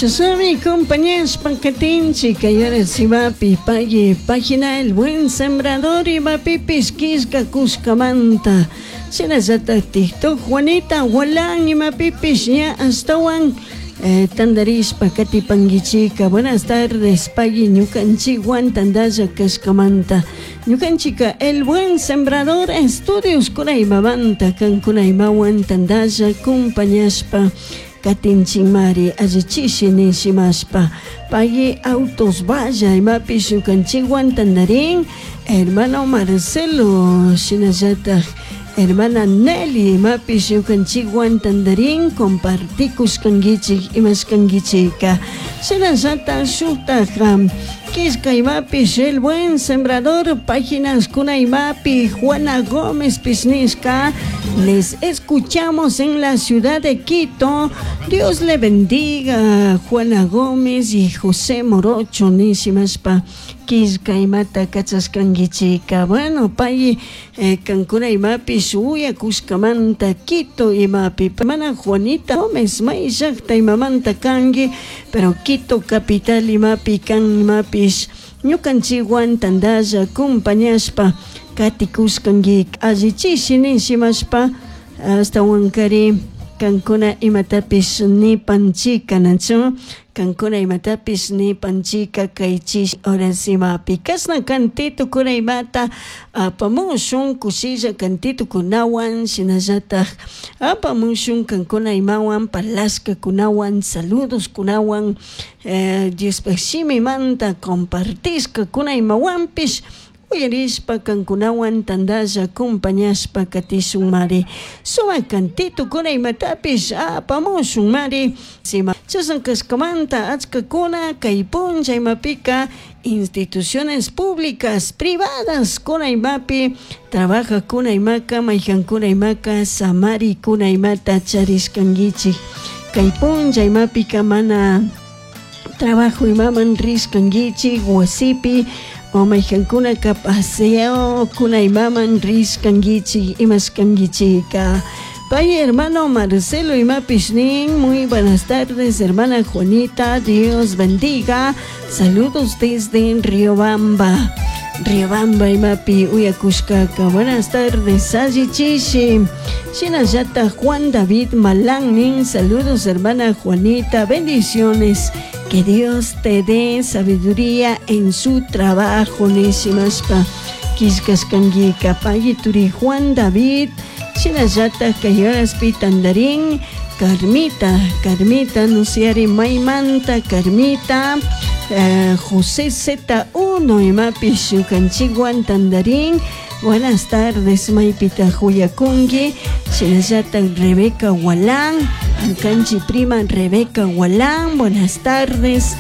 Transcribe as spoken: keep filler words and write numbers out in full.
Chashnami compañashpa katinchik kay horas imapi pagui página El Buen Sembrador imapipish killkakushkamanta. Shinallatak TikTok Juanita Gualán imapipish ña ashtawan eh, tandarishpa katipankichika. Buenas tardes, pagui ñukanchikwan tandalla kashkamanta. Ñukanchika El Buen Sembrador Estudios kunaymamanta kankunaymawan tandalla compañashpa katinchikmari allichishi nishimashpa. Pagui Autos Valla imapish ñukanchikwan tandarin, hermano Marcelo, shinallatak hermana Nelly imapish ñukanchikwan tandarin, compartikushkankichik imashkankichika. Shinallatak shuktak killka imapish El Buen Sembrador páginas kuna imapi Juana Gómez pisnishka: "Les escuchamos en la ciudad de Quito. Dios le bendiga, Juana Gómez y José Morocho", nishimashpa killka imata kachashkankichika. Bueno, pay eh, kankuna imapish uyakushkamanta Quito imapi. Mana Juanita Gómez may llakta imamanta kanki, pero Quito capital imapi kan imapish ñukanchikwan tandalla compañashpa katikushkanki allichishi nishimashpa. Ashtawankari kankuna imatapish nipanchika, nachu kankuna imatapish nipanchika kaychish horas imapi. Kashna cantito kuna imata apamushun, kushilla cantito kunawan, shinallatak apamushun kankuna imawan palashka kunawan, saludos kunawan, eh, Diospaj shimimanta compartishka kuna imawanpish uyarishpa kankunawan tandalla compañashpa katishun mari. Sumak cantito kuna imatapish apamushun mari. Chashna kashkamanta achkakuna kay punlla imapika instituciones públicas, privadas kuna imapi trabajakuna imaka, maykankuna imaka samarikuna imata charishkankichik. Kay punlla imapika mana trabajo imaman rishkankichik, wasipi o maykankunaka paseo kuna imaman rishkankichik imashkankichika. Pay hermano Marcelo imapish nin: "Muy buenas tardes, hermana Juanita, Dios bendiga, saludos desde Riobamba". Riobamba imapi uyakushkaka. Buenas tardes, allichishi. Shinallata Juan David Malán nin: "Saludos, hermana Juanita, bendiciones, que Dios te dé sabiduría en su trabajo", nishimashpa killkashkankika. Pay turi Juan David. Shinallata kay horaspi tandarin Carmita, Carmita nusiari maymanta Carmita, eh, José Z uno imapish ñukanchikwan tandarin. Buenas tardes, maypita uyakunki. Shinallata Rebeca Walán, ñukanchik prima Rebeca Walán, buenas tardes.